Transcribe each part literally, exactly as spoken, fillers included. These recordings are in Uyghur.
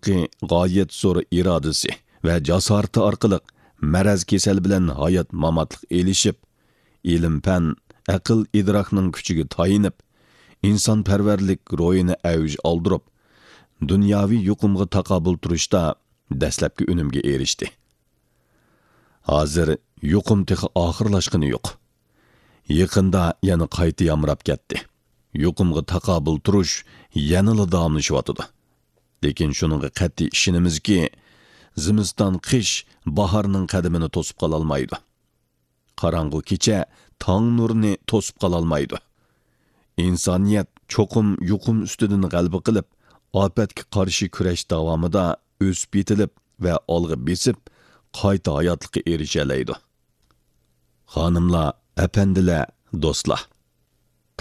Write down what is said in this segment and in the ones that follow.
ھەققى غايەت زور ئىرادىسى ۋە جاسارىتى ئارقىلىق مەرەز كېسەل بىلەن ھايات-ماماتلىق ئېلىشىپ، ئىلىم-پەن، ئەقىل-ئىدراكنىڭ كۈچىگە تايىنىپ، ئىنسانپەرۋەرلىك روھىنى ئەۋج ئالدۇرۇپ، دۇنياۋى يۇقۇمغا تاقابىل تۇرۇشتا دەسلەپكى ئۈنۈمگە ئېرىشتى. ھازىر يۇقۇم تېخى ئاخىرلاشقىنى يوق. يېقىندا يەنە قايتا يامراپ كەتتى. يۇقۇمغا تاقابىل تۇرۇش يەنىلا داۋاملىشىۋاتىدۇ. لېكىن شۇنىڭغا قەتئىي ئىشىنىمىزكى، زىمىستان قىش باھارنىڭ قەدىمىنى توسۇپ قالالمايدۇ. قاراڭغۇ كېچە تاڭ نۇرىنى توسۇپ قالالمايدۇ. ئىنسانىيەت چوقۇم يۇقۇم ئۈستىدىن غەلىبە قىلىپ، ئاپەتكە قارشى كۈرەش داۋامىدا ئۆسۈپ يېتىلىپ ۋە ئالغا بېسىپ، قايتا ھاياتلىققا ئېرىشەلەيدۇ. خانىملار، ئەپەندىلەر، دوستلار!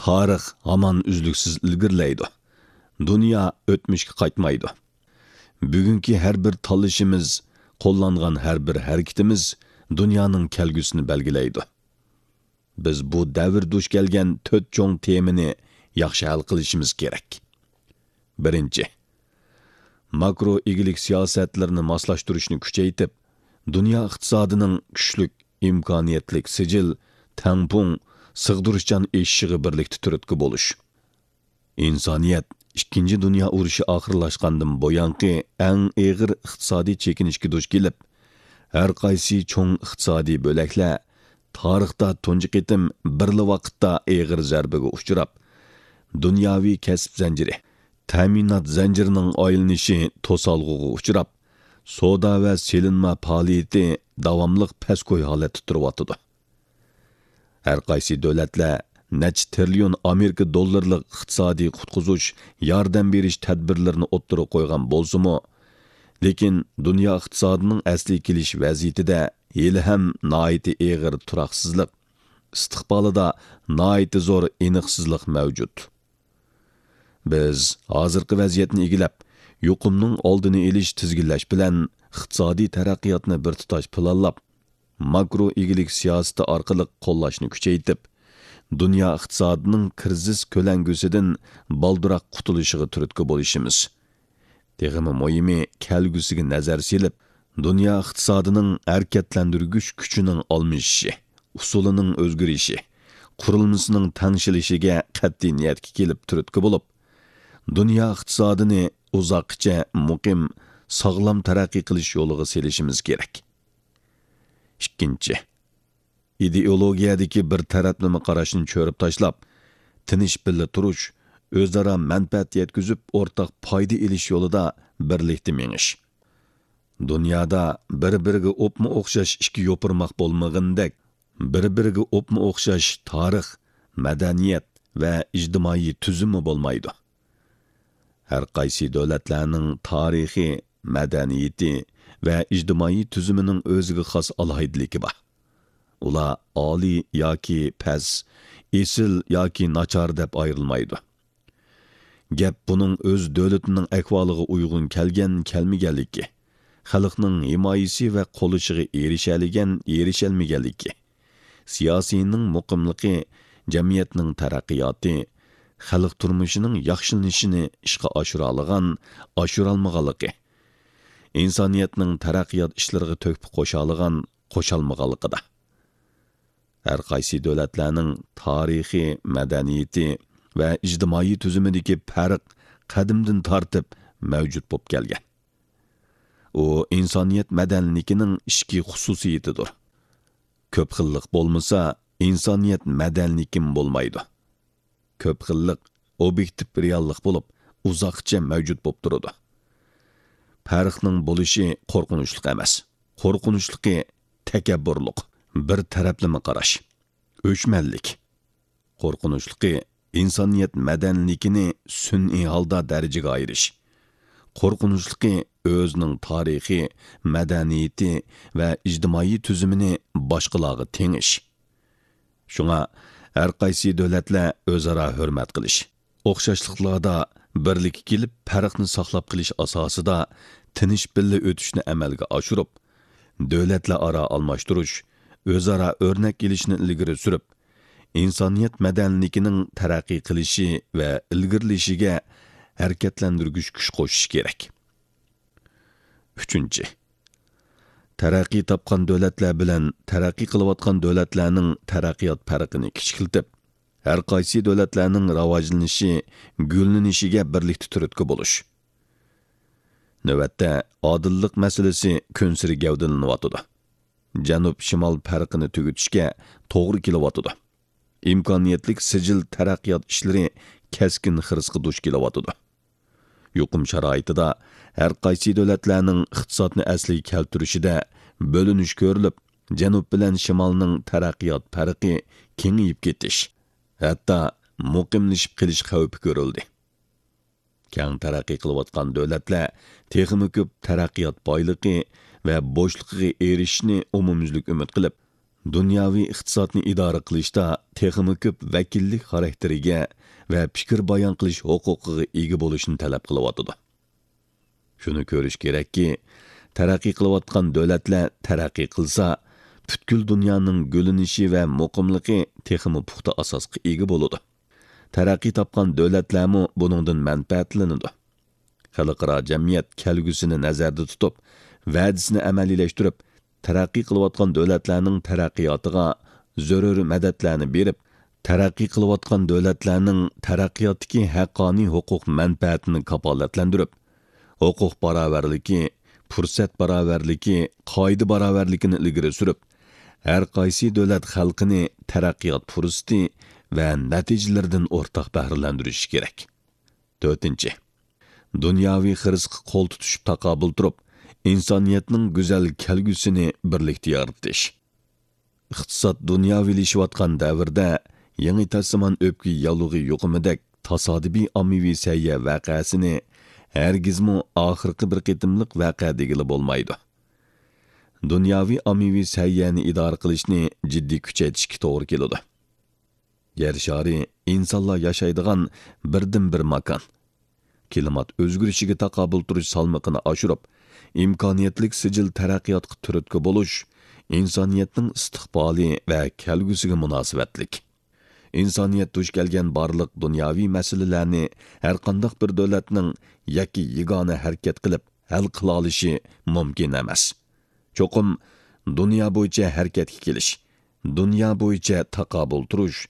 تارىخ ھامان ئۈزلۈكسىز ئىلگىرىلەيدۇ. دۇنيا ئۆتمۈشكە قايتمايدۇ. بۈگۈنكى ھەر بىر تاللىشىمىز، قوللانغان ھەر بىر ھەرىكىتىمىز دۇنيانىڭ كەلگۈسىنى بەلگىلەيدۇ. بىز بۇ دەۋر دۇچ كەلگەن تۆت چوڭ تېمىنى ياخشى ھەل قىلىشىمىز كېرەك. بىرىنچى، ماكرو ئىگىلىك سىياسەتلىرىنى ماسلاشتۇرۇشنى كۈچەيتىپ، دۇنيا ئىقتىسادىنىڭ كۈچلۈك، ئىمكانىيەتلىك، سىجىل، تەڭپۇڭ، سىغدۇرۇشچان ئېشىشىغا بىرلىكتە تۈرتكە بولۇش. ئىنسانىيەت ئىككىنچى دۇنيا ئۇرۇشى ئاخىرلاشقاندىن بۇيانقى ئەڭ ئېغىر ئىقتىسادىي چېكىنىشكە دۇچ كېلىپ، ھەر قايسى چوڭ ئىقتىسادىي بۆلەكلەر تارىختا تۇنجى قېتىم بىرلا ۋاقىتتا ئېغىر زەربىگە ئۇچراپ، دۇنياۋى كەسىپ زەنجىرى، تەمىنات زەنجىرىنىڭ ئايلىنىشى توسالغۇغا ئۇچراپ، سودا ۋە سېلىنما پائالىيىتى داۋاملىق پەسكوي ھالەتتە تۇرۇۋاتىدۇ. ھەر قايسى دۆلەتلەر نەچچە تىرىليون ئامېرىكا دوللىرىلىق ئىقتىسادىي قۇتقۇزۇش، ياردەم بېرىش تەدبىرلىرىنى ئوتتۇرىغا قويغان بولسىمۇ، لېكىن دۇنيا ئىقتىسادىنىڭ ئەسلىگە كېلىش ۋەزىيىتىدە ھېلىھەم ناھايىتى ئېغىر تۇراقسىزلىق، ئىستىقبالىدا ناھايىتى زور ئېنىقسىزلىق مەۋجۇت. بىز ھازىرقى ۋەزىيەتنى ئىگىلەپ، يۇقۇمنىڭ ئالدىنى ئېلىش، تىزگىنلەش بىلەن ئىقتىسادىي تەرەققىياتنى بىر تۇتاش پىلانلاپ، ماكرو ئىگىلىك سىياسىتى ئارقىلىق قوللاشنى كۈچەيتىپ، دۇنيا ئىقتىسادىنىڭ كىرىزىس كۆلەڭگىسىدىن بالدۇراق قۇتۇلۇشىغا تۈرتكە بولۇشىمىز. تېخىمۇ مۇھىمى، كەلگۈسىگە نەزەر سېلىپ، دۇنيا ئىقتىسادىنىڭ ھەرىكەتلەندۈرگۈچ كۈچىنىڭ ئالمىشىشى، ئۇسۇلىنىڭ ئۆزگىرىشى، قۇرۇلمىسىنىڭ تەڭشىلىشىگە قەتئىي نىيەتكە كېلىپ تۈرتكە بولۇپ، دۇنيا ئىقتىسادىنى ئۇزاققىچە مۇقىم، ساغلام تەرەققىي قىلىش يولىغا سېلىشىمىز كېرەك. ئىككىنچى، ئىدېئولوگىيەدىكى بىر تەرەپلىمە قاراشنى چۆرۈپ تاشلاپ، تىنچ بىللە تۇرۇش، ئۆزئارا مەنپەئەت يەتكۈزۈپ، ئورتاق پايدا ئېلىش يولىدا بىرلىكتە مېڭىش. دۇنيادا بىر-بىرىگە ئوپمۇ ئوخشاش ئىككى يوپۇرماق بولمىغىنىدەك، بىر-بىرىگە ئوپمۇ ئوخشاش تارىخ، مەدەنىيەت ۋە ئىجتىمائىي تۈزۈممۇ بولمايدۇ. ھەر قايسى دۆلەتلەرنىڭ تارىخى، مەدەنىيىتى ۋە ئىجتىمائىي تۈزۈمىنىڭ ئۆزىگە خاس ئالاھىدىلىكى بار. ئۇلار ئالىي ياكى پەس، ئېسىل ياكى ناچار دەپ ئايرىلمايدۇ. گەپ بۇنىڭ ئۆز دۆلىتىنىڭ ئەھۋالىغا ئۇيغۇن كەلگەن-كەلمىگەنلىكى، خەلقنىڭ ھىمايىسى ۋە قوللىشىغا ئېرىشەلىگەن-ئېرىشەلمىگەنلىكى، سىياسىينىڭ مۇقىملىقى، جەمئىيەتنىڭ تەرەققىياتى، خەلق تۇرمۇشىنىڭ ياخشىلىنىشىنى ئىشقا ئاشۇرالىغان-ئاشۇرالمىغانلىقى، ئىنسانىيەتنىڭ تەرەققىيات ئىشلىرىغا تۆھپە قوشالىغان قوشالمىغانلىقىدا. ھەر قايسى دۆلەتلەرنىڭ تارىخى، مەدەنىيىتى ۋە ئىجتىمائىي تۈزۈمىدىكى پەرق قەدىمدىن تارتىپ مەۋجۇت بولۇپ كەلگەن. ئۇ ئىنسانىيەت مەدەنىيلىكىنىڭ ئىچكى خۇسۇسىيىتىدۇر. كۆپ خىللىق بولمىسا، ئىنسانىيەت مەدەنىيلىكىمۇ بولمايدۇ. كۆپ خىللىق ئوبيېكتىپ رېئاللىق بولۇپ، ئۇزاققىچە مەۋجۇت بولۇپ تۇرىدۇ. پەرقنىڭ بولۇشى قورقۇنچلۇق ئەمەس. قورقۇنچلۇقى تەكەببۇرلۇق، بىر تەرەپلىمە قاراش، ئۆچمەنلىك. قورقۇنچلۇقى ئىنسانىيەت مەدەنىيلىكىنى سۈنئىي ھالدا دەرىجىگە ئايرىش. قورقۇنچلۇقى ئۆزىنىڭ تارىخى، مەدەنىيىتى ۋە ئىجتىمائىي تۈزۈمىنى باشقىلارغا تېڭىش. شۇڭا ھەر قايسى دۆلەتلەر ئۆزئارا ھۆرمەت قىلىش، ئوخشاشلىقلاردا بىرلىككە كېلىپ، پەرقنى ساقلاپ قېلىش ئاساسىدا تىنچ بىللە ئۆتۈشنى ئەمەلگە ئاشۇرۇپ، دۆلەتلەر ئارا ئالماشتۇرۇش، ئۆزئارا ئۆرنەك ئېلىشنى ئىلگىرى سۈرۈپ، ئىنسانىيەت مەدەنىيلىكىنىڭ تەرەققىي قىلىشى ۋە ئىلگىرىلىشىگە ھەرىكەتلەندۈرگۈچ كۈچ قوشۇش كېرەك. ئۈچىنچى، تەرەققىي تاپقان دۆلەتلەر بىلەن تەرەققىي قىلىۋاتقان دۆلەتلەرنىڭ تەرەققىيات پەرقىنى كىچىكلىتىپ، ھەر قايسى دۆلەتلەرنىڭ راۋاجلىنىشى، گۈللىنىشىگە بىرلىكتە تۈرتكە بولۇش. نۆۋەتتە ئادىللىق مەسىلىسى كۈنسېرى گەۋدىلىنىۋاتىدۇ. جەنۇب-شىمال پەرقىنى تۈگىتىشكە توغرا كېلىۋاتىدۇ. ئىمكانىيەتلىك سىجىل تەرەققىيات ئىشلىرى كەسكىن خىرىسقا دۇچ كېلىۋاتىدۇ. يۇقۇم شارائىتىدا ھەر قايسى دۆلەتلەرنىڭ ئىقتىسادنى ئەسلىگە كەلتۈرۈشىدە بۆلۈنۈش كۆرۈلۈپ، جەنۇب بىلەن شىمالنىڭ تەرەققىيات پەرقى كېڭىيىپ كېتىش، ھەتتا مۇقىملىشىپ قېلىش خەۋپى كۆرۈلدى. كەڭ تەرەققىي قىلىۋاتقان دۆلەتلەر تېخىمۇ كۆپ تەرەققىيات بايلىقى ۋە بوشلۇقىغا ئېرىشىشنى ئومۇميۈزلۈك ئۈمىد قىلىپ، دۇنياۋى ئىقتىسادنى ئىدارە قىلىشتا تېخىمۇ كۆپ ۋەكىللىك خاراكتېرىگە ۋە پىكىر بايان قىلىش ھوقۇقىغا ئىگە بولۇشنى تەلەپ قىلىۋاتىدۇ. شۇنى كۆرۈش كېرەككى، تەرەققىي قىلىۋاتقان دۆلەتلەر تەرەققىي قىلسا، پۈتكۈل دۇنيانىڭ گۈللىنىشى ۋە مۇقىملىقى تېخىمۇ پۇختا ئاساسقا ئىگە بولىدۇ. تەرەققىي تاپقان دۆلەتلەرمۇ بۇنىڭدىن مەنپەئەتلىنىدۇ. خەلقئارا جەمئىيەت كەلگۈسىنى نەزەردە تۇتۇپ، ۋەدىسىنى ئەمەلىيلەشتۈرۈپ، تەرەققىي قىلىۋاتقان دۆلەتلەرنىڭ تەرەققىياتىغا زۆرۈر مەدەتلەرنى بېرىپ، تەرەققىي قىلىۋاتقان دۆلەتلەرنىڭ تەرەققىياتتىكى ھەققانىي ھوقۇق مەنپەئەتىنى كاپالەتلەندۈرۈپ، ھوقۇق باراۋەرلىكى، پۇرسەت باراۋەرلىكى، قائىدە باراۋەرلىكىنى ئىلگىرى سۈرۈپ، ھەر قايسى دۆلەت خەلقىنى تەرەققىيات پۇرسىتى ۋە نەتىجىلىرىدىن ئورتاق بەھرىلەندۈرۈشى كېرەك. تۆتىنچى، دۇنياۋى خىرىسقا قول تۇتۇشۇپ تاقابىل تۇرۇپ، ئىنسانىيەتنىڭ گۈزەل كەلگۈسىنى بىرلىكتە يارىتىش. ئىقتىساد دۇنياۋىلىشىۋاتقان دەۋردە يېڭى تاسىمان ئۆپكە ياللۇغى يۇقۇمىدەك تاسادىپىي ئاممىۋى سەھىيە ۋەقەسىنى ھەرگىزمۇ ئاخىرقى بىر قېتىملىق ۋەقە دېگىلى بولمايدۇ. دۇنياۋى ئاممىۋى سەھىيەنى ئىدارە قىلىشنى جىددىي كۈچەيتىشكە توغرا كېلىدۇ. يەر شارى ئىنسانلار ياشايدىغان بىردىنبىر ماكان. كىلىمات ئۆزگىرىشىگە تاقابىل تۇرۇش سالمىقىنى ئاشۇرۇپ، ئىمكانىيەتلىك سىجىل تەرەققىياتقا تۈرتكە بولۇش ئىنسانىيەتنىڭ ئىستىقبالى ۋە كەلگۈسىگە مۇناسىۋەتلىك. ئىنسانىيەت دۇچ كەلگەن بارلىق دۇنياۋى مەسىلىلەرنى ھەرقانداق بىر دۆلەتنىڭ ياكى يېگانە ھەرىكەت قىلىپ ھەل قىلالىشى مۇمكىن ئەمەس. چوقۇم دۇنيا بويىچە ھەرىكەتكە كېلىش، دۇنيا بويىچە تاقابىل تۇرۇش،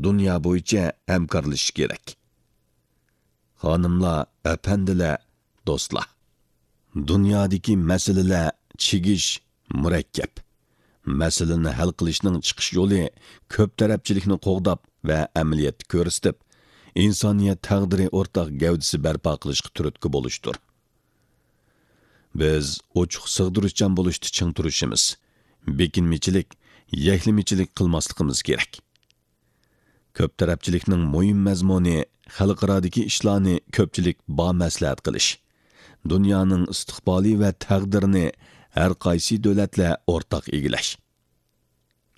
دۇنيا بويىچە ھەمكارلىشىش كېرەك. خانىملار، ئەپەندىلەر، دوستلار! دۇنيادىكى مەسىلىلەر چىگىش، مۇرەككەپ. مەسىلىنى ھەل قىلىشنىڭ چىقىش يولى كۆپ تەرەپچىلىكنى قوغداپ ۋە ئەمەلىيەتتە كۆرسىتىپ، ئىنسانىيەت تەقدىرى ئورتاق گەۋدىسى بەرپا قىلىشقا تۈرتكە بولۇشتۇر. بىز ئوچۇق سىغدۇرۇشچان بولۇشتا چىڭ تۇرۇشىمىز، بېكىنمىچىلىك، يەكلىمىچىلىك قىلماسلىقىمىز كېرەك. كۆپ تەرەپچىلىكنىڭ مۇھىم مەزمۇنى خەلقئارادىكى ئىشلارنى كۆپچىلىك بامەسلىھەت قىلىش، دۇنيانىڭ ئىستىقبالى ۋە تەقدىرىنى ھەر قايسى دۆلەتلەر ئورتاق ئىگىلەش.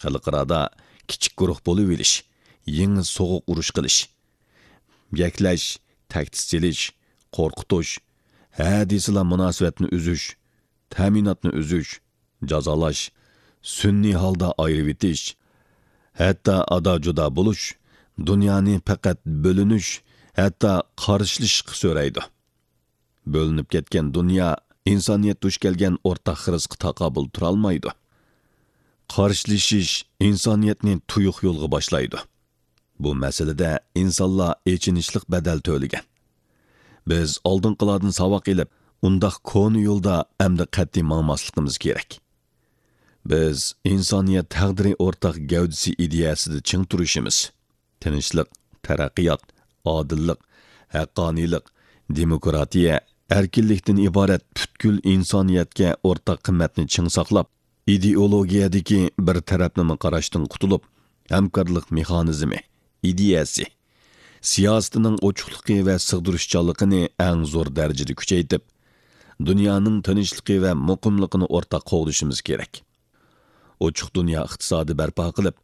خەلقئارادا كىچىك گۇرۇھ بولۇۋېلىش، يېڭى سوغۇق ئۇرۇش قىلىش، يەكلەش، تەھدىت سېلىش، قورقۇتۇش، ھە دېسىلا مۇناسىۋەتنى ئۈزۈش، تەمىناتنى ئۈزۈش، جازالاش، سۈنئىي ھالدا ئايرىۋېتىش، ھەتتا ئادا-جۇدا بولۇش، دۇنيانى پەقەت بۆلۈنۈش، ھەتتا قارشىلىشىشقا سۆرەيدۇ. بۆلۈنۈپ كەتكەن دۇنيا ئىنسانىيەت دۇچ كەلگەن ئورتاق خىرىسقا تاقابىل تۇرالمايدۇ. قارشىلىشىش ئىنسانىيەتنى تۇيۇق يولغا باشلايدۇ. بۇ مەسىلىدە ئىنسانلار ئېچىنىشلىق بەدەل تۆلىگەن. بىز ئالدىنقىلاردىن ساۋاق ئېلىپ، ئۇنداق كونا يولدا ئەمدى قەتئىي ماڭماسلىقىمىز كېرەك. بىز ئىنسانىيەت تەقدىرى ئورتاق گەۋدىسى ئىدىيەسىدە چىڭ تۇرۇشىمىز. تىنچلىق، تەرەققىيات، ئادىللىق، ھەققانىيلىق، دېموكراتىيە، ئەركىنلىكتىن ئىبارەت پۈتكۈل ئىنسانىيەتكە ئورتاق قىممەتنى چىڭ ساقلاپ، ئىدېئولوگىيەدىكى بىر تەرەپلىمە قاراشتىن قۇتۇلۇپ، ھەمكارلىق مېخانىزمى، ئىدىيەسى، سىياسىتىنىڭ ئوچۇقلۇقى ۋە سىغدۇرۇشچانلىقىنى ئەڭ زور دەرىجىدە كۈچەيتىپ، دۇنيانىڭ تىنچلىقى ۋە مۇقىملىقىنى ئورتاق قوغدىشىمىز كېرەك. ئوچۇق دۇنيا ئىقتىسادى بەرپا قىلىپ،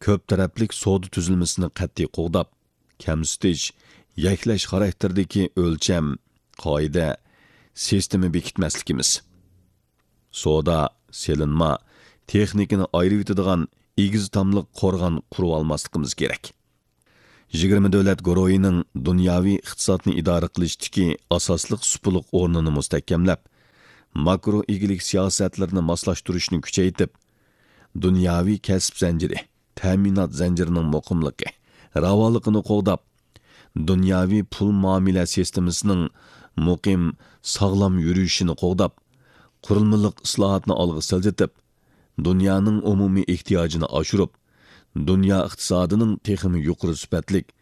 كۆپ تەرەپلىك سودا تۈزۈلمىسىنى قەتئىي قوغداپ، كەمسىتىش، يەكلەش خاراكتېرىدىكى ئۆلچەم، قائىدە، سىستېما بېكىتمەسلىكىمىز. سودا، سېلىنما، تېخنىكىنى ئايرىۋېتىدىغان ئېگىز تاملىق قورغان قۇرۇۋالماسلىقىمىز كېرەك. يىگىرمە دۆلەت گۇرۇھىنىڭ دۇنياۋى ئىقتىسادنى ئىدارە قىلىشتىكى ئاساسلىق سۇپىلىق ئورنىنى مۇستەھكەملەپ، ماكرو ئىگىلىك سىياسەتلىرىنى ماسلاشتۇرۇشنى كۈچەيتىپ، دۇنياۋى كەسىپ زەنجىرى، تەمىنات زەنجىرىنىڭ مۇقىملىقى، راۋانلىقىنى قوغداپ، دۇنياۋى پۇل مۇئامىلە سىستېمىسىنىڭ مۇقىم، ساغلام يۈرۈشىنى قوغداپ، قۇرۇلمىلىق ئىسلاھاتنى ئالغا سىلجىتىپ، دۇنيانىڭ ئومۇمىي ئېھتىياجىنى ئاشۇرۇپ، دۇنيا ئىقتىسادىنىڭ تېخىمۇ يۇقىرى سۈپەتلىك،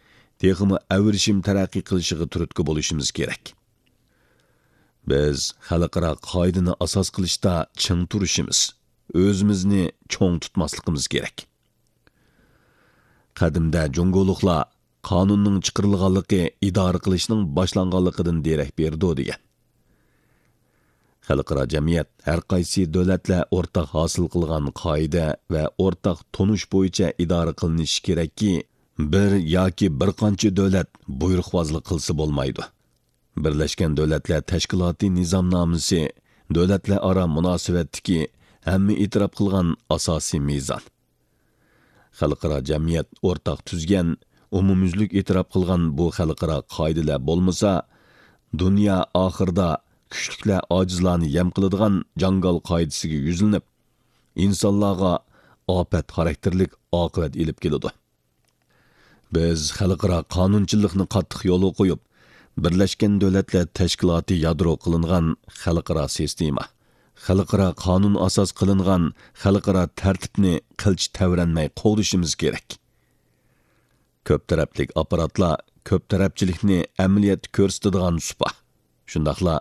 تېخىمۇ ئەۋرىشىم تەرەققىي قىلىشىغا تۈرتكە بولۇشىمىز كېرەك. بىز خەلقئارا قائىدىنى ئاساس قىلىشتا چىڭ تۇرۇشىمىز، ئۆزىمىزنى چوڭ تۇتماسلىقىمىز كېرەك. قەدىمدە جۇڭگولۇقلار «قانۇننىڭ چىقىرىلغانلىقى ئىدارە قىلىشنىڭ باشلانغانلىقىدىن دېرەك بېرىدۇ» دېگەن. خەلقئارا جەمئىيەت ھەر قايسى دۆلەتلەر ئورتاق ھاسىل قىلغان قائىدە ۋە ئورتاق تونۇش بويىچە ئىدارە قىلىنىشى كېرەككى، بىر ياكى بىر قانچە دۆلەت بۇيرۇقۋازلىق قىلسا بولمايدۇ. بىرلەشكەن دۆلەتلەر تەشكىلاتى نىزامنامىسى دۆلەتلەر ئارا مۇناسىۋەتتىكى ھەممە ئېتىراپ قىلغان ئاساسىي مىزان. خەلقئارا جەمئىيەت ئورتاق تۈزگەن، ئومۇميۈزلۈك ئېتىراپ قىلغان بۇ خەلقئارا قائىدىلەر بولمىسا، دۇنيا ئاخىرىدا كۈچلۈكلەر ئاجىزلارنى يەم قىلىدىغان جاڭگال قائىدىسىگە يۈزلىنىپ، ئىنسانلارغا ئاپەت خاراكتېرلىك ئاقىۋەت ئېلىپ كېلىدۇ. بىز خەلقئارا قانۇنچىلىقنى قاتتىق يولغا قويۇپ، بىرلەشكەن دۆلەتلەر تەشكىلاتى يادرو قىلىنغان خەلقئارا سىستېما، خەلقئارا قانۇن ئاساس قىلىنغان خەلقئارا تەرتىپنى قىلچە تەۋرەنمەي قوغدىشىمىز كېرەك. كۆپ تەرەپلىك ئاپپاراتلار كۆپ تەرەپچىلىكنى ئەمەلىيەتتە كۆرسىتىدىغان سۇپا، شۇنداقلا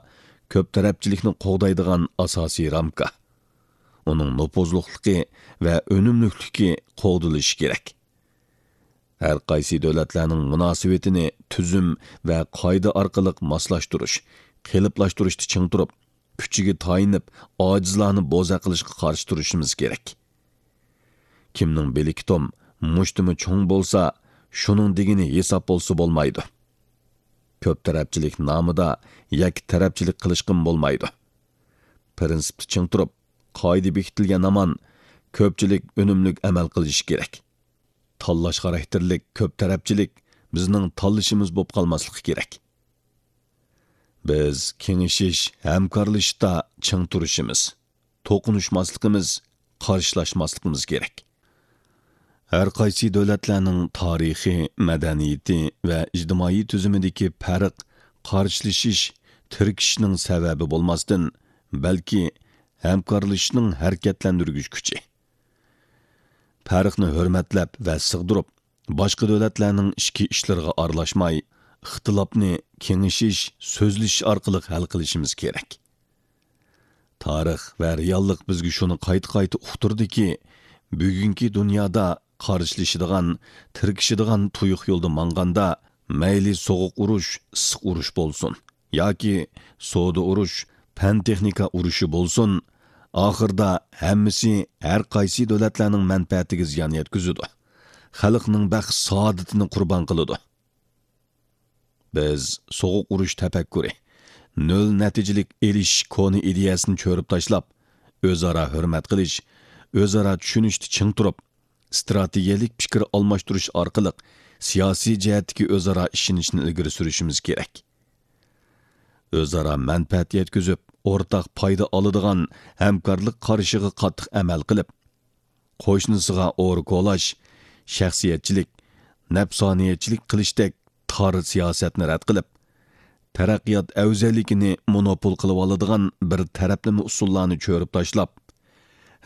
كۆپ تەرەپچىلىكنى قوغدايدىغان ئاساسىي رامكا. ئۇنىڭ نوپۇزلۇقلۇقى ۋە ئۈنۈملۈكلۈكى قوغدىلىشى كېرەك. ھەر قايسى دۆلەتلەرنىڭ مۇناسىۋىتىنى تۈزۈم ۋە قائىدە ئارقىلىق ماسلاشتۇرۇش، قېلىپلاشتۇرۇشتا چىڭ تۇرۇپ، كۈچىگە تايىنىپ، ئاجىزلارنى بوزەك قىلىشقا قارشى تۇرۇشىمىز كېرەك. كىمنىڭ بىلىكى توم، مۇشتۇمى چوڭ بولسا، شۇنىڭ دېگىنى ھېساب بولسا بولمايدۇ. كۆپ تەرەپچىلىك نامىدا يەككە تەرەپچىلىك قىلىشقىمۇ بولمايدۇ. پىرىنسىپتا چىڭ تۇرۇپ، قائىدە بېكىتىلگەن ھامان، كۆپچىلىك ئۈنۈملۈك ئەمەل قىلىشى كېرەك. تاللاش خاراكتېرلىك كۆپ تەرەپچىلىك بىزنىڭ تاللىشىمىز بولۇپ قالماسلىقى كېرەك. بىز كېڭىشىش، ھەمكارلىشىشتا چىڭ تۇرۇشىمىز، توقۇنۇشماسلىقىمىز، قارشىلاشماسلىقىمىز كېرەك. ھەر قايسى دۆلەتلەرنىڭ تارىخى، مەدەنىيىتى ۋە ئىجتىمائىي تۈزۈمىدىكى پەرق قارشىلىشىش، تىركىشىشنىڭ سەۋەبى بولماستىن، بەلكى ھەمكارلىشىشنىڭ ھەرىكەتلەندۈرگۈچ كۈچى. پەرقنى ھۆرمەتلەپ ۋە سىغدۇرۇپ، باشقا دۆلەتلەرنىڭ ئىچكى ئىشلىرىغا ئارىلاشماي، ئىختىلاپنى كېڭىشىش، سۆزلىشىش ئارقىلىق ھەل قىلىشىمىز كېرەك. تارىخ ۋە رېئاللىق بىزگە شۇنى قايتا-قايتا ئۇقتۇردىكى، بۈگۈنكى دۇنيادا قارشىلىشىدىغان، تىركىشىدىغان تۇيۇق يولدا ماڭغاندا، مەيلى سوغۇق ئۇرۇش، ئىسسىق ئۇرۇش بولسۇن، ياكى سودا ئۇرۇش، پەن-تېخنىكا ئۇرۇشى بولسۇن، ئاخىرىدا ھەممىسى ھەر قايسى دۆلەتلەرنىڭ مەنپەئەتىگە زىيان يەتكۈزىدۇ. خەلقنىڭ بەخت-سائادىتىنى قۇربان قىلىدۇ. بىز سوغۇق ئۇرۇش تەپەككۇرى، نۆل نەتىجىلىك ئېلىشىش كونا ئىدىيەسىنى چۆرۈپ تاشلاپ، ئۆزئارا ھۆرمەت قىلىش، ئۆزئارا چۈشىنىشتە چىڭ تۇرۇپ، ئىستراتېگىيەلىك پىكىر ئالماشتۇرۇش ئارقىلىق سىياسىي جەھەتتىكى ئۆزئارا ئىشىنىشنى ئىلگىرى سۈرۈشىمىز كېرەك. ئۆزئارا مەنپەئەت يەتكۈزۈپ، ئورتاق پايدا ئالىدىغان ھەمكارلىق قارىشىغا قاتتىق ئەمەل قىلىپ، قوشنىسىغا ئورا كولاش، شەخسىيەتچىلىك، نەپسانىيەتچىلىك قىلىشتەك تار سىياسەتنى رەت قىلىپ، تەرەققىيات ئەۋزەللىكىنى مونوپول قىلىۋالىدىغان بىر تەرەپلىمە ئۇسۇللارنى چۆرۈپ تاشلاپ،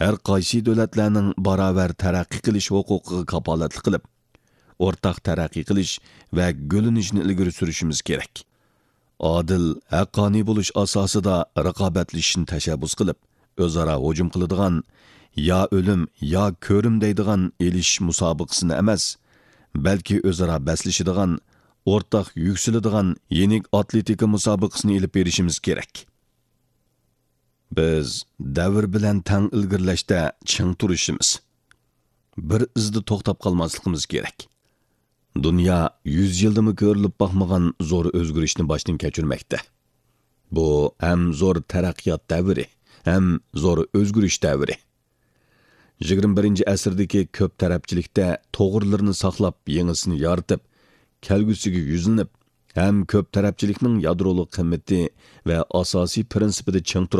ھەر قايسى دۆلەتلەرنىڭ باراۋەر تەرەققىي قىلىش ھوقۇقىغا كاپالەتلىك قىلىپ، ئورتاق تەرەققىي قىلىش ۋە گۈللىنىشنى ئىلگىرى سۈرۈشىمىز كېرەك. ئادىل، ھەققانىي بولۇش ئاساسىدا رىقابەتلىشىشنى تەشەببۇس قىلىپ، ئۆزئارا ھۇجۇم قىلىدىغان، يا ئۆلۈم، يا كۆرۈم دەيدىغان ئېلىشىش مۇسابىقىسىنى ئەمەس، بەلكى ئۆزئارا بەسلىشىدىغان، ئورتاق يۈكسىلىدىغان يېنىك ئاتلېتىكا مۇسابىقىسىنى ئېلىپ بېرىشىمىز كېرەك. بىز دەۋر بىلەن تەڭ ئىلگىرىلەشتە چىڭ تۇرۇشىمىز، بىر ئىزدا توختاپ قالماسلىقىمىز كېرەك. دۇنيا يۈز يىلدىمۇ كۆرۈلۈپ باقمىغان زور ئۆزگىرىشنى باشتىن كەچۈرمەكتە. بۇ ھەم زور تەرەققىيات دەۋرى، ھەم زور ئۆزگىرىش دەۋرى. يىگىرمە بىرىنچى ئەسىردىكى كۆپ تەرەپچىلىكتە توغرىلىرىنى ساقلاپ، يېڭىسىنى يارىتىپ، كەلگۈسىگە يۈزلىنىپ، ھەم كۆپ تەرەپچىلىكنىڭ يادرولۇق قىممىتى ۋە ئاساسىي پىرىنسىپىدا چىڭ تۇرۇپ،